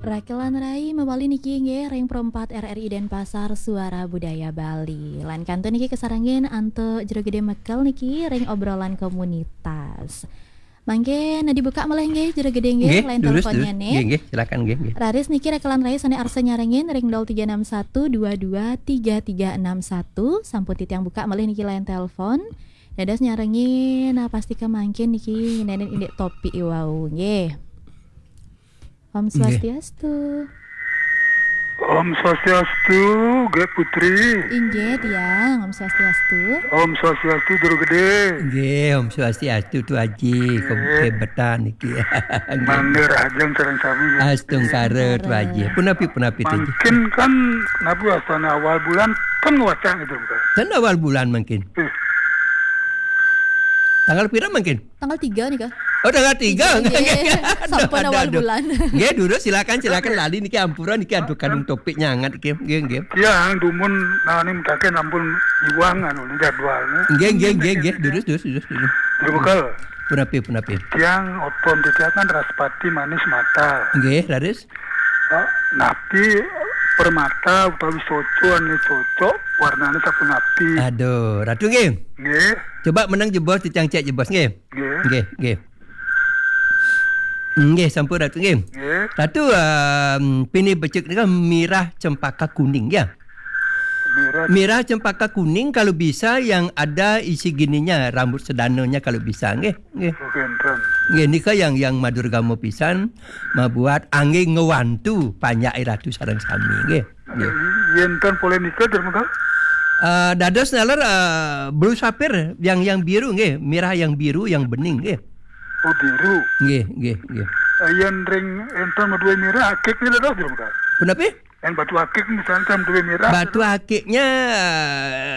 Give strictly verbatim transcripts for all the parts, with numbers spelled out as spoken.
Rakelan rai mawali niki nggih ring Pro empat R R I Denpasar, Suara Budaya Bali. Lan kantun niki kasarengin antuk Jero Gede Mekel niki ring obrolan komunitas. Mangke nadi buka malih nggih Jero Gede nggih, nggih, line durus, teleponnya durus. Nih. Nggih, nggih, silakan nggih, nggih. Raris niki rakelan rai sane arsa nyarengin ring nol tiga enam satu dua dua tiga tiga enam satu, sampun titiang buka malih niki line telepon. Dados nyarengin, nah, pasti ke mangkin niki nenen indik topik iwau nggih. Om Swastiastu. Om Swastiastu, Gek Putri. Inggih, Tiang. Om Swastiastu. Om Swastiastu, Jero Gede. Nggih, Om Swastiastu, Tu Aji. Nggih. Kebetan niki. Nggih. Mangga rahajeng sareng sami, nggih. Astungkara, Tu Aji. Punapi, punapi, Tu Aji. Mangkin kan nabi wastane awal bulan kan ngwacang gitu, Pak. Kan awal bulan mangkin. Eh. Tanggal pira mangkin? Tanggal tiga nih, Kak. Oh, tanggal tiga. Tiga, nggih. Nggih. Sampun awal bulan. Nggih, durus, silakan, silakan. Oke. Lali niki ampura niki, aduh, kadung topiknya hangat niki. Nggih, nggih. Tiang dumun nani mutake nampun iwang anu ni jadwalnya. Nggih, nggih, nggih, nggih. Durus, durus, durus, durus. Jero Mekel. Punapi, punapi. Tiang oton titiang kan Raspati Manis Mata. Nggih, raris. Eh, napi permata utawi soco ane cocok warnane sapunapi? Aduh, Ratu nggih. Nggih. Coba menang jebos, titiang cek jebos nggih. Nggih. Nggih, nggih. Nggih, sampun Ratu nggih. Nggih. Ratu, em, pinih becik nika mirah cempaka kuning ya. Mirah. Mirah cempaka kuning kalau bisa yang ada isi gininya, rambut sedananya kalau bisa nggih. Nggih. Oke, enten. Nggih, nika yang, yang madurgama pisan, mabuat angge ngwantu panjak Ratu sareng sami nggih. Nggih. Yen ten poleh nika, Jero Mekel? Eh, dados naler, eh, blue sapphire yang, yang biru nggih, mirah yang biru yang bening nggih. Oh, biru. Nggih, nggih, nggih. Eh, yen ring enten maduwe mirah akik ni dados, Jero Mekel? Punapi? Yen batu akik misalnya kan maduwe mirah. Batu akiknya,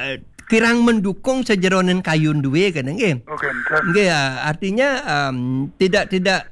eh, kirang mendukung sajeroning kayun duwe kene nggih. Oke, enten. Nggih, ya, artinya, em, tidak, tidak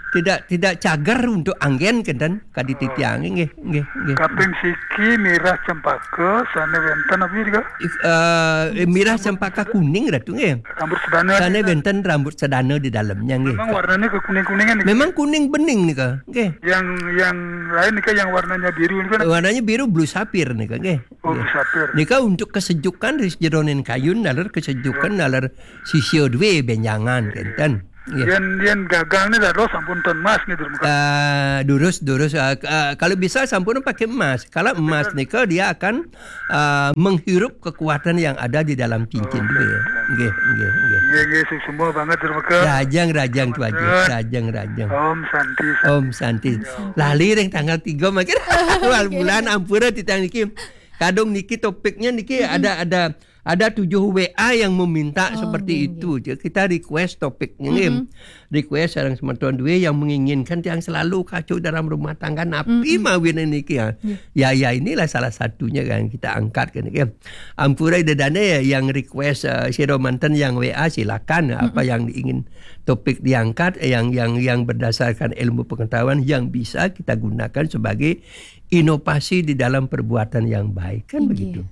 tidak, tidak cager untuk anggen kenten kadi titiang nggih, nggih, nggih. Kaping siki mirah cempaka sane wenten apa nika? Eh, mirah cempaka kuning Ratu nggih. Rambut sedana. Sane wenten rambut sedana di dalamnya nggih. Memang warnanya kekuning-kuningan nih. Memang kuning bening nika nggih. Yang, yang lain nika yang warnanya biru nika. Warnanya biru blue sapphire nika nggih. Oh, nggih. Blue sapphire. Nika untuk kesejukan di jeroning kayun, naler kesejukan, naler sisia duwe benjangan kenten. Nggih. Yen, yen gagang ni dados sampun ten emas nih, Jero Mekel. Eh, durus, durus. Eh, k-, eh, kalau bisa sampun pakai emas. Kalau emas nika dia akan, eh, menghirup kekuatan yang ada di dalam cincin duwe. Nggih, nggih, nggih. Nggih, nggih, suksma banget, Jero Mekel. Rajang, rajang, Tu Aji. Rajang, rajang. Om Santi, Santi. Om Santi. Lali ring tanggal tiga mangkin. Awal bulan, ampura titiang niki. Kadung niki topiknya niki ada, ada ada tujuh W A yang meminta seperti itu. Kita request topiknya nggih. Request sareng semeton duwe yang menginginkan tiang selalu kacau dalam rumah tangga napi mawine niki ya. Ya, ya, inilah salah satunya yang kita angkat kan nggih. Ampura ida dane ya yang request, eh, sira manten yang W A silakan apa yang diingin topik diangkat, eh, yang, yang, yang berdasarkan ilmu pengetahuan yang bisa kita gunakan sebagai inovasi di dalam perbuatan yang baik kan begitu.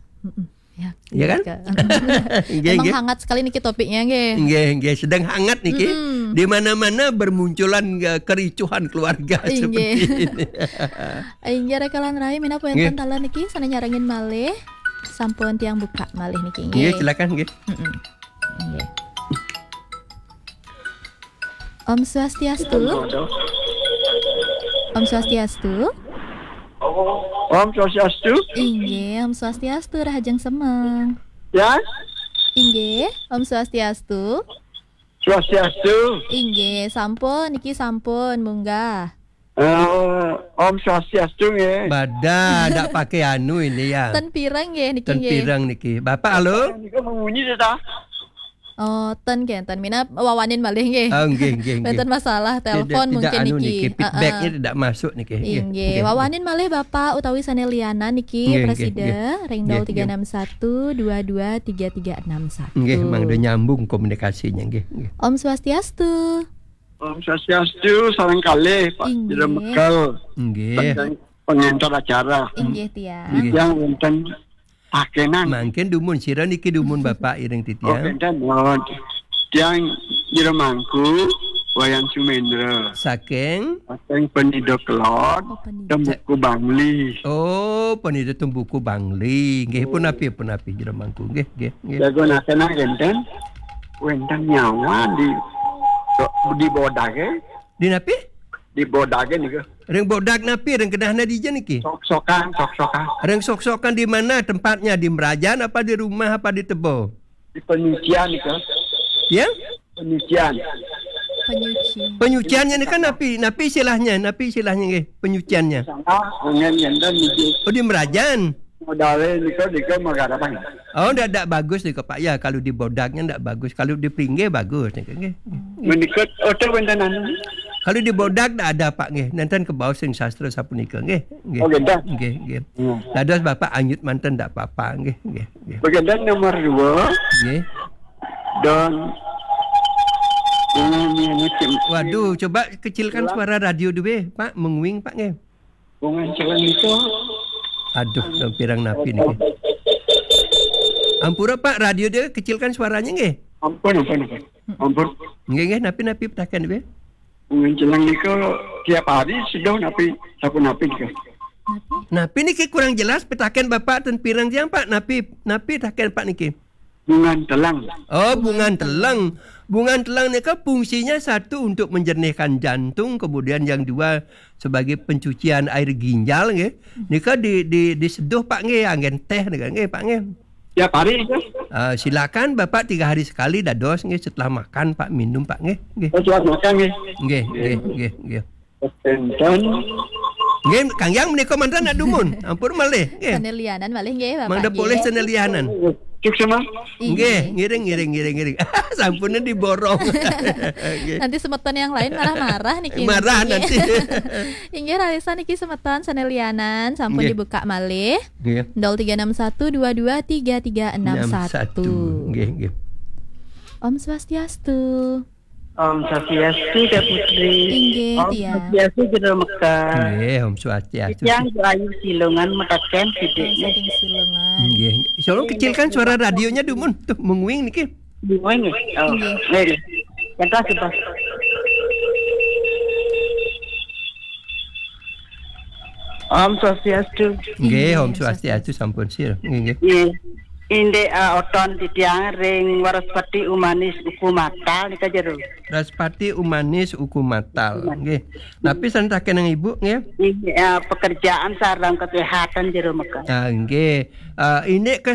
Ya, ya kan? Nggih, emang nggih. Hangat sekali niki topiknya nggih. Nggih, nggih, sedang hangat niki. Di mana-mana bermunculan, eh, kericuhan keluarga seperti ini. Inggih, Rekalan Rai, minab wenten taler niki sane nyarengin malih. Sampun tiang buka malih niki nggih. Nggih, silakan nggih. Nggih. Om Swastiastu. Om Swastiastu. Om Swastiastu. Inggih, Om Swastiastu, rahajeng semeng. Ya? Inggih, Om Swastiastu. Swastiastu. Inggih, sampun, niki sampun, munggah. Eh, Om Swastiastu nggih. Badan ndak pakai anu ini ya. Ten pireng nggih niki nggih. Ten pireng niki. Bapak halo? Niku mengunyi ta? Oh, ten nggih, ten minab wawanin malih nggih. Oh, nggih, nggih, nggih. Wenten masalah telepon mungkin anu niki. Feedbacknya tidak masuk niki. Nggih, nggih. Wawanin malih Bapak utawi sane lianan niki, nggih, nggih, presida, nggih, ring nggih, nol tiga enam satu dua dua tiga tiga enam satu. Nggih, mangda nyambung komunikasinya nggih, nggih. Om Swastiastu. Om Swastiastu, sareng kalih, Pak Jero Mekel. Nggih. Tentang pengantar acara. Inggih, tiang. Nggih. Yang wonten pakenan. Mangkin dumun, sira niki dumun Bapak iring titiang. Oh, enten, nuwun. Tiang Jero Mangku, Wayan Sumendra. Saking? Saking Penida Kelod, Oh, Penida. Tembuku Bangli. Oh, Penida Tembuku Bangli. Nggih, pun api, pun api jero mangku. Nggih, nggih, nggih. Jago nakena wenten, wenten nyawa di, di bodage. Di napi? Di bodage nika. Ring bodag napi, ring kenahna dija niki? Sok-sokan, sok-sokan. Ring sok-sokan di mana tempatnya? Di merajan apa di rumah apa di tebo? Di penyucian nika. Ya? Penyucian. Penyuci. Penyuciannya ni kan napi, napi istilahnya, napi istilahnya nggih, penyuciannya. Salah, angin enten niki. Oh, di merajan. Modale nika, nika magarapan. Oh, ndak, ndak bagus nika, Pak, ya. Kalau di bodagnya ndak bagus, kalau di pringgih bagus nika nggih. Menika oto wenten anu. Kalau di bodag ndak ada, Pak, nggih. Nenten kebaos ring sastra sapunika nggih. Nggih. Oh, nggih, dah. Nggih, nggih. Hmm. Dados Bapak anyut manten ndak apa-apa nggih, nggih, nggih. Bagian nomor dua. Nggih. Dan ini, ini, ini. Waduh, coba kecilkan suara radio dulu, Pak. Menguing, Pak, nggih. Bungan celeng itu. Aduh, dong pirang napi niki. Ampura, Pak, radio dia kecilkan suaranya nggih. Ampun, ampun, ampun. Ampun. Nggih, nggih, napi, napi petaken nggih. Bungan celeng niku tiap hari seduh napi, sampun napi niku. Napi? Napi niki kurang jelas petaken Bapak ten pirang tiang, Pak? Napi, napi petaken Pak niki? Bungan telang. Oh, bungan telang. Bungan telang nika fungsinya satu untuk menjernihkan jantung, kemudian yang dua sebagai pencucian air ginjal nggih. Nika di, di, diseduh Pak nggih, anggen teh nika nggih Pak nggih. Tiap hari itu? Ah, silakan Bapak tiga hari sekali dados nggih, setelah makan Pak minum Pak nggih. Nggih. Oh, setelah makan nggih. Nggih, nggih, nggih, nggih. Enten. Nggih, Kang Yang menika manten nak dumun. Ampun malih. Nggih. Sanelianan malih nggih Bapak. Mangda nggih. Polih sanelianan. Cuk sama. Nggih, ngiring, ngiring, ngiring, ngiring. Sampun diborong. Nggih. Nanti semeton yang lain marah-marah niki. Marah nggih. Nanti. Inggih, rarisa niki semeton sanelianan sampun nggih. Dibuka malih. Nggih. Nol tiga enam satu dua dua tiga tiga enam satu. Enam satu. Nggih, nggih. Om Swastiastu. Om Swastiastu, Kak Putri. Inggih, Om tiang. Swastiastu, Jero Mekar. Nggih, Om Swastiastu. Tiang Ayu Silungan mekaten Om sidik nggih. Saking Silungan. Nggih. Tolong kecilkan suara radionya dumun. Tuh, menguing niki. Menguing nggih. Oh, nggih. Nggih, nggih. Yang keras, Bos. Om Swastiastu. Nggih, Om Swastiastu sampun sir. Nggih, nggih. Nggih. Indik, eh, oton titiang ring Wraspati Umanis Uku Matal nika jero. Wraspati Umanis Uku Matal. Umanis. Nggih. Napi santaken Ibu nggih? Indik, eh, pekerjaan sareng kesehatan jero meka. Ah, nggih. Eh, indik